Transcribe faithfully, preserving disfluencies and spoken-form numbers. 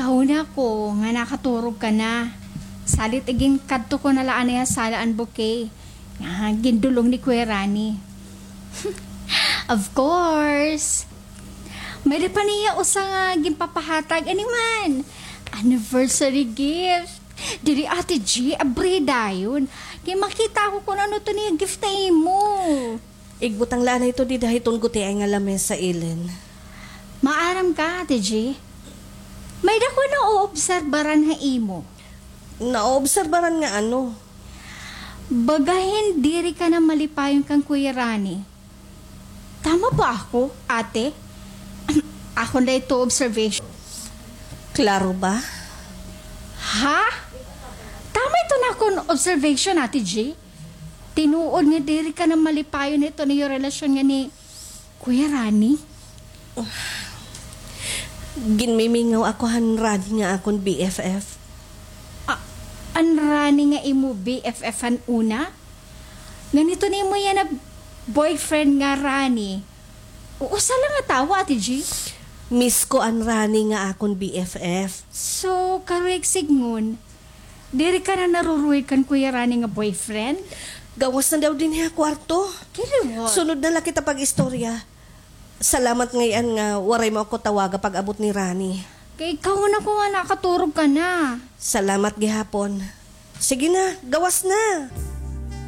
Kahuna ko nga nakaturog ka na. Salit iginkadto ko na la anay ha sala an bouquet nga gindulong ni Kuya Rani. Of course. May-ada pa niya usa nga ginpapahatag, ano man? Anniversary gift. Diri, Ate G, abri dayon. Kay makita ko kun ano to niya gift na imo. Igbutang la anay to dida hiton gutiay nga lamesa, Ellen. Maaram ka, Ate G? May-ada ko naoobserbaran ha imo. Naoobserbaran nga ano? Baga hin diri ka na malipayon kan Kuya Rani. Tama ba ako, ate? Akon la ito observation. Klaro ba? Ha? Tama ito na akon observation, Ate G? Tinuod nga diri ka na malipayon hito niyo relasyon nga ni Kuya Rani? Ginmimingaw ako han Rani nga akon B F F. Ah, an Rani nga imo B F F han una? Ngan hito nimo yana boyfriend nga Rani, usa la nga tawo, Ate G? Miss ko an Rani nga akon B F F. So, karuyag sidngon, diri ka na naruruhig kan Kuya Rani nga boyfriend? Gawas na daw dinhi ha kwarto. Kiliwat. Sunod na la kita pag-istorya. Salamat ngay-an nga waray mo ako tawaga pag-abot ni Rani. Kay kahuna ko nga nakaturog ka na. Salamat gihapon. Sige na, gawas na.